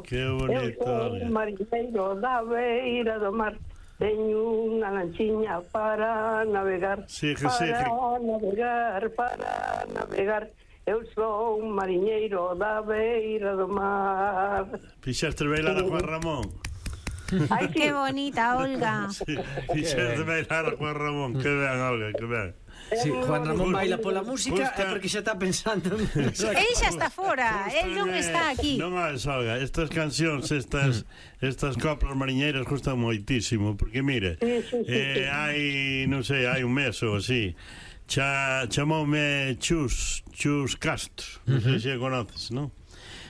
Que bonito, Eu sou mariñeiro da beira do mar. Teño unha lanchiña para navegar. Para navegar. Eu sou un mariñeiro da beira do mar. Fixaste bailar a Juan Ramón. Ay, qué bonita, Olga. Sí, fixaste bailar a Juan Ramón. Que ben, Olga, que ben. Sí, Juan Ramón baila pola música é porque xa está pensando. Él xa está fora, él non está aquí. Non é, Olga, estas cancións, estas coplas mariñeiras gustan moitísimo, porque mire, hai, non sei, hai un mes ou así, chamoume Chus Castro, non sei se conoces, non?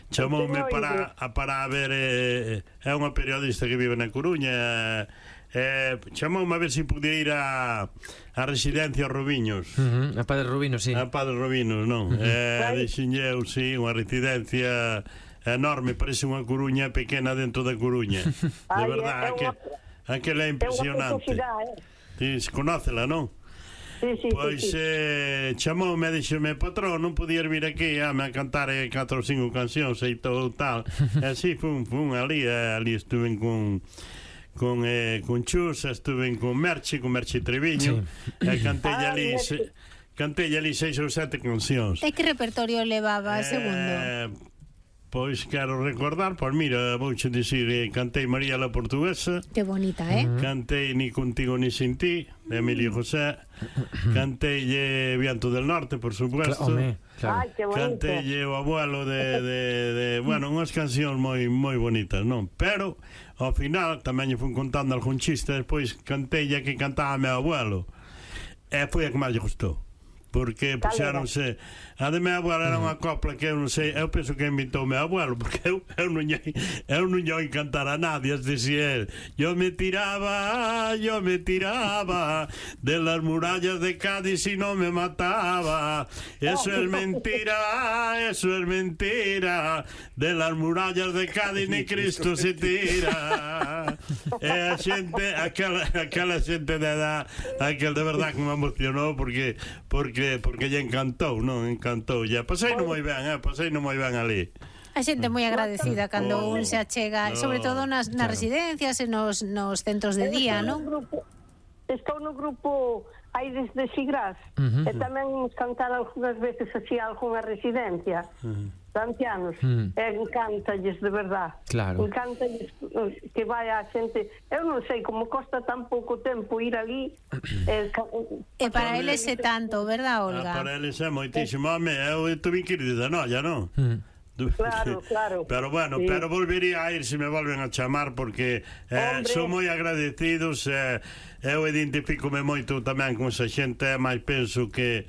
Chamoume para ver, é unha periodista que vive na Coruña, chamoume a ver se podía ir a residencia Rubiños. A Padre Rubinos, sí. A Padre Rubinos, non? Dixenlle eu, sí, unha residencia enorme, parece unha Coruña pequena dentro da Coruña. De verdade, aquela é impresionante. Conócela, non? Pois chamoume e dixeme: patrón, non podías vir aquí a cantar 4 ou 5 cancións e todo tal. E así fun ali estuve con Chus, estuve con Merche Treviño, e cantei ali 6 ou 7 cancións. E que repertorio levaba segundo? Pois quero recordar, pois mira, vouche dicir, cantei María la Portuguesa. Que bonita, Cantei Ni contigo ni sin ti, de Emilio José. Cantei Viento del Norte, por supuesto. Claro. Ai, que bonito. Cantei O abuelo de bueno, unhas cancións moi bonitas, non? Pero ao final tamén lle fun contando algún chiste, despois cantei que cantaba meu abuelo. E foi a que máis lle gustou, porque puxéronse a de meu abuelo. Era unha copla que eu non sei, eu penso que inventou meu abuelo, porque eu non lle cantar a nadie. Es decir, yo me tiraba de las murallas de Cádiz y no me mataba. Eso es mentira, de las murallas de Cádiz ni Cristo se tira. E a xente, aquela xente de edad, aquel de verdad que me emocionou, porque lle encantou, non? Encantou, ya paseino moi ben, ali. A xente moi agradecida cando un se achega, sobre todo nas residencias e nos centros de día, non? Estou no grupo Aires de Sigrás, e tamén cantar algunhas veces así a algunha residencia de ancianos, e encántalles de verdad. Claro. Encántalles que vai a xente. Eu non sei como costa tan pouco tempo ir ali. E para eles é tanto, verdad, Olga? Para eles é moitísimo. Eu tuve que ir de noia, non? Claro. Pero bueno, sí. Pero volvería a ir se me volven a chamar, porque son moi agradecidos. Eu identifícome moito tamén con esa xente, mas penso que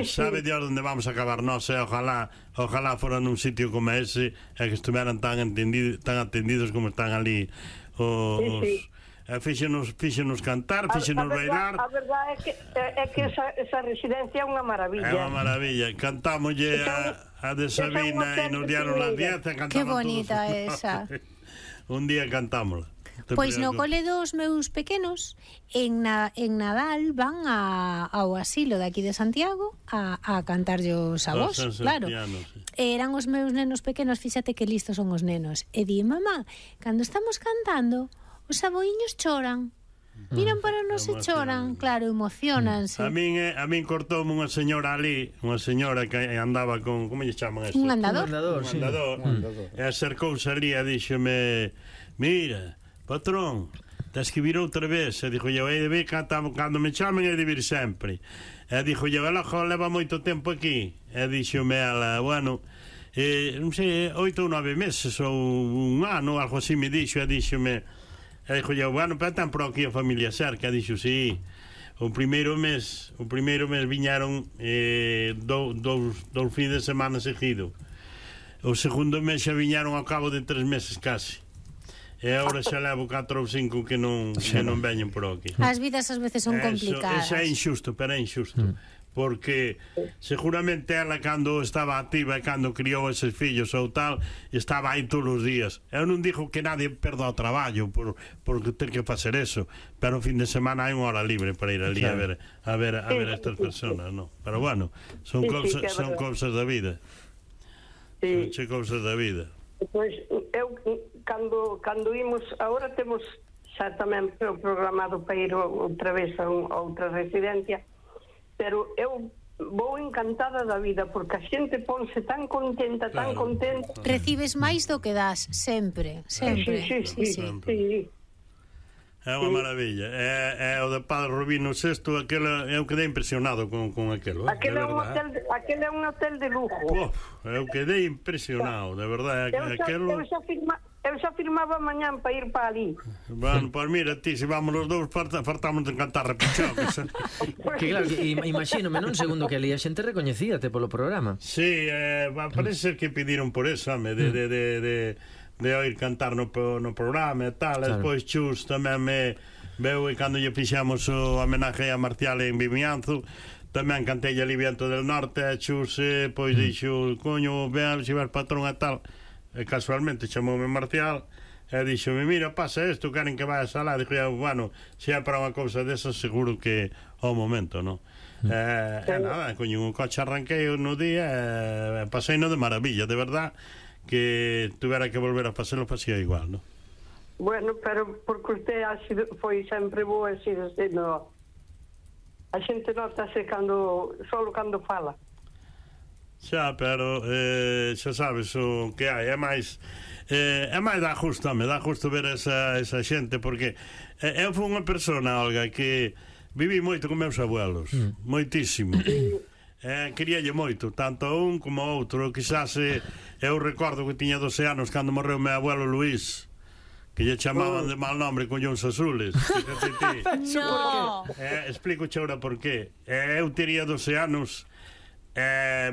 sabe de onde vamos a acabar nós, ojalá fora nun sitio como ese, e que estuveran tan atendidos como están ali os fíxenos cantar, fíxenos bailar. A verdade é que esa residencia é unha maravilla. É unha maravilla. Cantámoslle a de Sabina e nos dieron las 10. Que bonita esa. Un día cantámosla. Pois no cole dos meus pequenos en Nadal van ao asilo de aquí de Santiago a cantarllos a vos, claro. Eran os meus nenos pequenos, fíxate que listos son os nenos. E di: mamá, cando estamos cantando, os aboiños choran. Miran para nós e choran, claro, emocionanse. A min cortoume unha señora ali, unha señora que andaba con, como lle chaman eso? Un andador. Un andador. E acercouse ali e díxome: mira, patrón, tens que vir outra vez. E dixo eu: cando me chamen é de vir sempre. E dixo eu: ela leva moito tempo aquí. E díxome ela: bueno, non sei, 8 ou 9 meses ou un ano, algo así me dixo. E díxome, e dixo eu: bueno, pero tan por aquí a familia cerca. E dixo: sí. O primeiro mes viñaron dous fins de semana seguido. O segundo mes xa viñaron ao cabo de 3 meses casi. E agora xa levo 4 ou 5 que non veñen por aquí. As vidas ás veces son complicadas. Eso é injusto, pero é injusto. Porque seguramente ela, cando estaba activa e cando criou eses fillos ou tal, estaba aí todos os días. Eu non digo que nadie perda o traballo porque ten que facer eso, pero o fin de semana hai unha hora libre para ir ali a ver estas personas, non? Pero bueno, son cousas da vida. Son cousas da vida. Pois, eu, cando imos, agora temos xa tamén programado para ir outra vez a outra residencia, pero eu vou encantada da vida, porque a xente ponse tan contenta, tan contenta. Recibes máis do que das, sempre, sempre. Sí. É unha maravilla. É o de Padre Rubino VI, eu quedei impresionado con aquelo. Aquele é un hotel de lujo. Eu quedei impresionado, de verdade. Eu xa firmaba mañán para ir para ali. Bueno, pois mira, ti, se vamos os dous, fartamos de cantar repichocos. Que claro, imagínome, non? Segundo que ali a xente recoñecíate polo programa. Sí, parece ser que pediron por eso, de oír cantar no programa e tal. Claro. Despois Chus tamén me veu, e cando lle fixamos o homenaje a Marcial en Vimianzo, tamén cantei ali Viento del Norte, e Chus pois dixo, coño, ven se ver patrón e tal, e casualmente chamoume Marcial e dixome, mira, pasa isto, queren que vayas alá. Dixo, bueno, se é para unha cousa desas, seguro que ao momento, non? Nada, coño, un coche arranquei no día e pasei no de maravilla, de verdad, que tuvera que volver a facelo, facía igual, non? Bueno, pero porque usted foi sempre boa e sido sendo, a xente notase solo cando fala. Xa, pero xa sabes o que hai, é máis dá gusto ver esa xente, porque eu fui unha persona, Olga, que viví moito con meus abuelos, moitísimo. Queríalle moito, tanto a un como a outro. Quizás eu recordo que tiña 12 anos cando morreu meu abuelo Luís, que lle chamaban de mal nombre Collóns Azules. No. Explico ahora por qué. Eu tería 12 anos,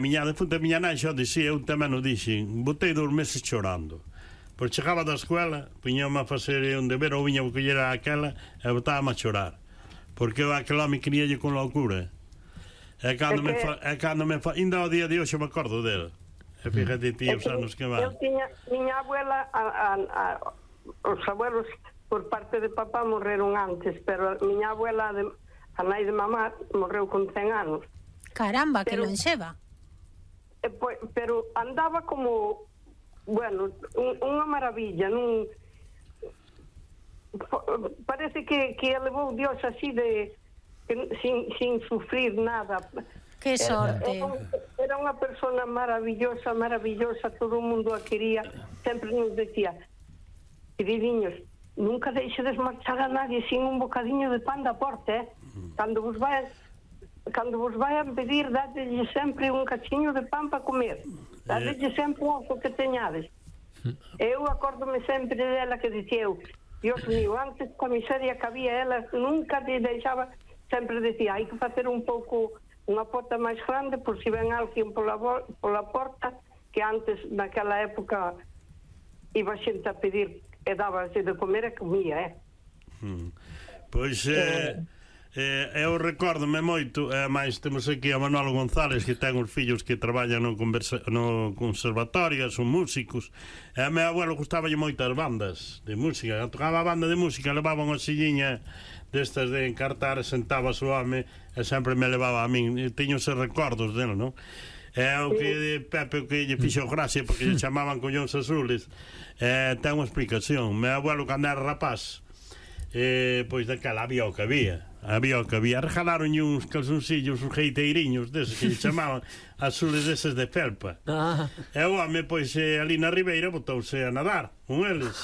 miña defunta miña nai xa dixía, eu tamén o dixen, botei 2 meses chorando. Pois chegaba da escuela, puñame a facer un deber, ou viña a coller aquela e botábame a chorar, porque eu aquel home queríalle con loucura. E cando me fa ainda ao día de hoxe me acordo dele. E fíjate ti os anos que van. Eu tiña miña abuela, os abuelos por parte de papá morreron antes, pero miña abuela, a nai de mamá, morreu con 100 anos. Caramba, que lonxeva. Pero andaba como, bueno, unha maravilla, parece que levou Dios así de sin sufrir nada. Que sorte. Era unha persona maravillosa, todo o mundo a quería. Sempre nos decía, queridiños, nunca deixedes marchar a nadie sin un bocadiño de pan da porta, Cando vos vayan pedir, dadelle sempre un cachiño de pan para comer, dadelle sempre o que teñades. Eu acórdome sempre dela que dicía eu, Dios mío, antes coa miseria que había, ela nunca te deixaba. Sempre decía, hai que facer un pouco unha porta máis grande por si ven alguén pola porta, que antes, naquela época, iba xente a pedir e dábase de comer e comía, Pois eu recórdome moito, máis temos aquí a Manolo González, que ten os fillos que traballan no conservatorio, son músicos, e a meu abuelo gustaballe moito as bandas de música, tocaba a banda de música, levaba unha silliña destas de encartar, sentaba o home e sempre me levaba a min. Teño esos recordos dele, non? É o que Pepe, o que lle fixo gracia, porque lle chamaban Collóns Azules, ten unha explicación. Meu abuelo, cando era rapaz, pois daquela había o que había, regalaronlle uns calzoncillos, uns jeiteiriños deses que lle chamaban azules deses de felpa, e o home, pois ali na ribeira botouse a nadar con eles.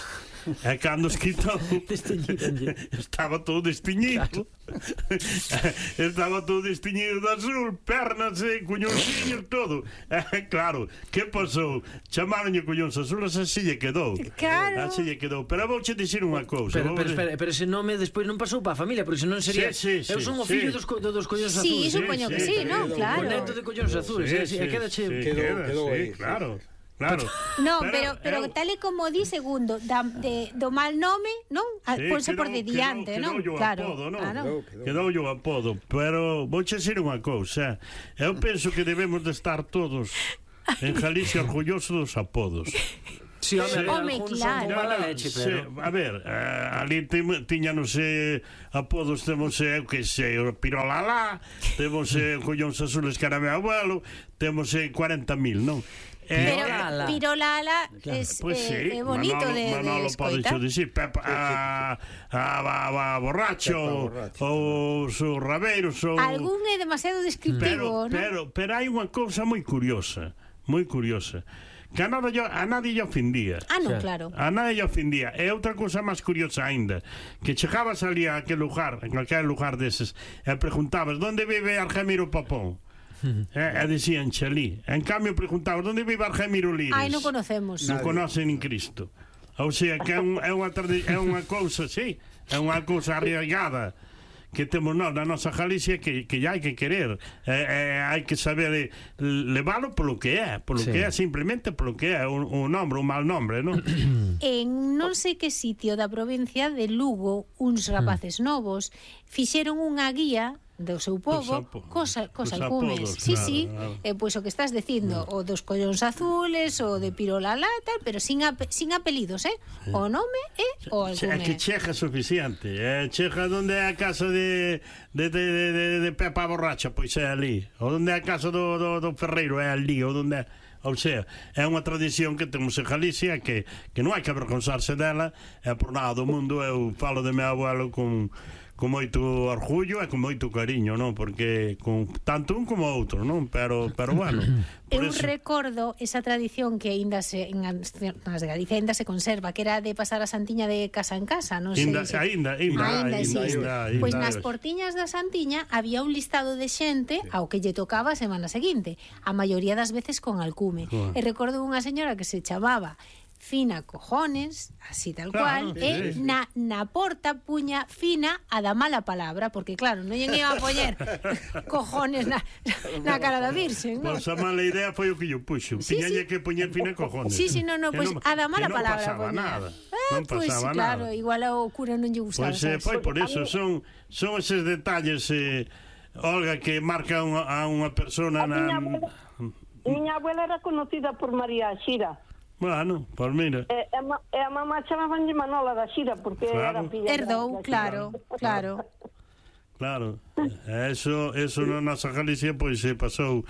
E cando os quitou, estaba todo destiñido, estaba todo destiñido de azul, pernas e cuñonciños, todo. Claro, que pasou? Chamaronlle Collóns Azules, así lle quedou. Claro. Así lle quedou. Pero vouche dicir unha cousa. Pero ese nome despois non pasou para a familia, porque senón sería... Eu son o fillo dos Collóns Azules. Sí, supoño que sí, non? Claro. O neto de Collóns Azules. Quedou aí. Claro. No, pero tal e como di, segundo, do mal nome, non? Ponse por de diante, non? Claro. Quedou o apodo, pero vouche dicir unha cousa, eu penso que debemos de estar todos en Galicia orgullosos dos apodos. Sí, home, claro. A ver, ali tiñanos apodos, temos, que sei, o Pirolalá, temos Collóns Azules, que era meu abuelo, temos 40.000, non? Pero Pirolala é bonito de escoitar. Manolo pode dicir a borracho ou os rabeiros ou... Algún é demasiado descriptivo, pero hai unha cousa moi curiosa, que a nadie lle ofendía. Non, claro. A nadie lle ofendía. E outra cousa máis curiosa ainda, que chegabas ali a aquel lugar, en calquer lugar deses, e preguntabas, onde vive Argemiro Papón? E dicían Chalí. En cambio preguntabas, onde vive Argemiro Lires? Non conocemos. Non conocen nin Cristo. Ou sea, que é unha cousa, sí, é unha cousa arraigada que temos nós na nosa Galicia que hai que querer, hai que saber leválo polo que é, simplemente polo que é, un nombre, un mal nombre, non? En non sei que sitio da provincia de Lugo, uns rapaces novos fixeron unha guía do seu povo cos alcumes. Sí, pois o que estás dicindo, o dos collóns azules, o de Pirolala, tal, pero sin apelidos, o nome e o alcume. É que chega suficiente, chega onde é a casa de Pepa Borracha, pois é ali, ou onde é a casa do Ferreiro, é ali, ou onde é... Ou sea, é unha tradición que temos en Galicia que non hai que avergonzarse dela, e por nada do mundo eu falo de meu abuelo con moito orgullo e con moito cariño, non? Porque con tanto un como outro, non? Pero bueno, eu recordo esa tradición que aínda nas de Galicia aínda se conserva, que era de pasar a Santiña de casa en casa, non sei. Aínda. Pois nas portiñas da Santiña había un listado de xente ao que lle tocaba a semana seguinte, a maioría das veces con alcume. E recordo unha señora que se chamaba Fina Cojones, así tal cual, e na porta puña Fina a da mala palabra, porque claro, non lle iba a poñer cojones na cara da Virxen, non? Pois a mala idea foi o que yo puxo, tiñalle que poñer Fina Cojones. Sí, pois a da mala palabra non pasaba nada. Pois claro, igual ao cura non lle gustaba. Pois foi por eso, son eses detalles, Olga, que marcan a unha persona na... Miña abuela era conocida por María Xira. Bueno, pois mira. E a mamá chamabanlle Manola da Xira porque era filla. Herdou, claro. Claro, eso na nosa Galicia pois pasou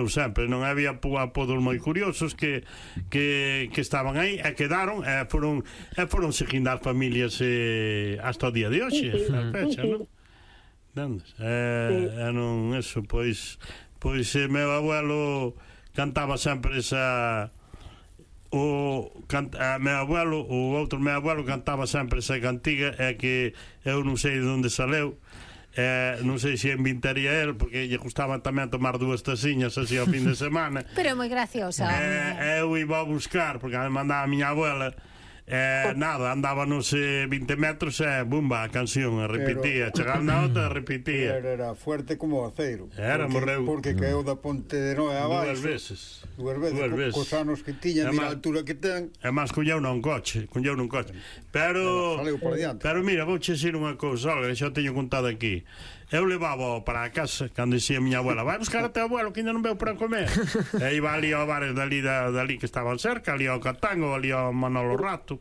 sempre, non había apodos moi curiosos que estaban aí e quedaron e foron seguindo as familias hasta o día de hoxe, a fecha, non? Non, eso, pois meu abuelo cantaba sempre esa... o outro meu abuelo cantaba sempre esa cantiga, é que eu non sei de onde saleu, non sei se inventaría el, porque lle gustaba tamén tomar 2 taciñas así ao fin de semana, pero moi graciosa. Eu iba a buscar, porque me mandaba a miña abuela, nada, andábanos 20 metros e bumba, a canción repetía, chegaba na outra repetía. Era fuerte como aceiro. Morreu porque caeu da Ponte de Noé abaixo dúas veces. Cos anos que tiña, mira a altura que ten. E máis colleu nun coche. Pero mira, vou che dicir unha cousa, Olga, xa teño contado aquí. Eu levaba para a casa, cando dicía a miña abuela, vai buscar a teu abuelo que ainda non veu para comer. E iba ali aos bares dali que estaban cerca, ali ao Catango, ali ao Manolo Rato.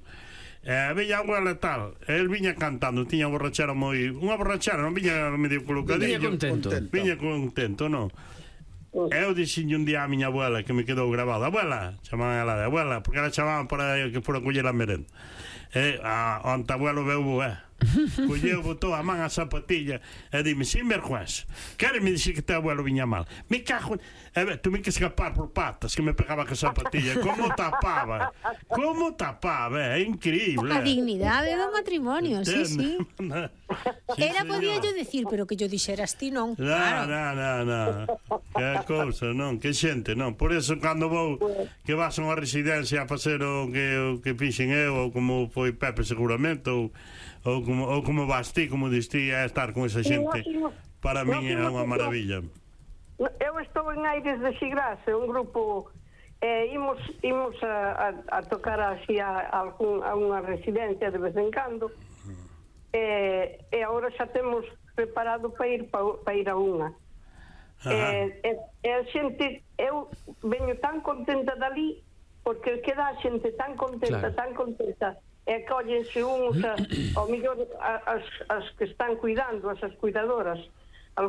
Veña a abuela e tal, el viña cantando, tiña borrachera unha borrachera, non viña medio colocadillo, viña contento, non? Eu dixenlle un día a miña abuela, que me quedou grabado, abuela, chamaban ela de abuela, porque ela chamaban para que fora a coller a merenda. Onte abuelo veu colleu, botou a man a zapatilla e dime, sin vergüenza, quéreme dicir que teu abuelo viña mal, me cago tuve que escapar por patas que me pegaba que a zapatilla, como tapaba, é increíble, a dignidade do matrimonio, sí. Era podía yo decir, pero que yo dixeras ti non. Non, que cousa, non, que xente, non, por eso cando vou que vas a unha residencia a facer o que fixen eu, ou como foi Pepe seguramente, ou como vas ti, como distí a estar con esa xente, para min é unha maravilla. Eu estou en Aires de Xigrás, un grupo, imos a tocar así a unha residencia de vez en cando, e agora xa temos preparado para ir a unha. A xente, eu veño tan contenta dali, porque queda a xente tan contenta, e cóllense uns ao mellor as que están cuidando, as cuidadoras,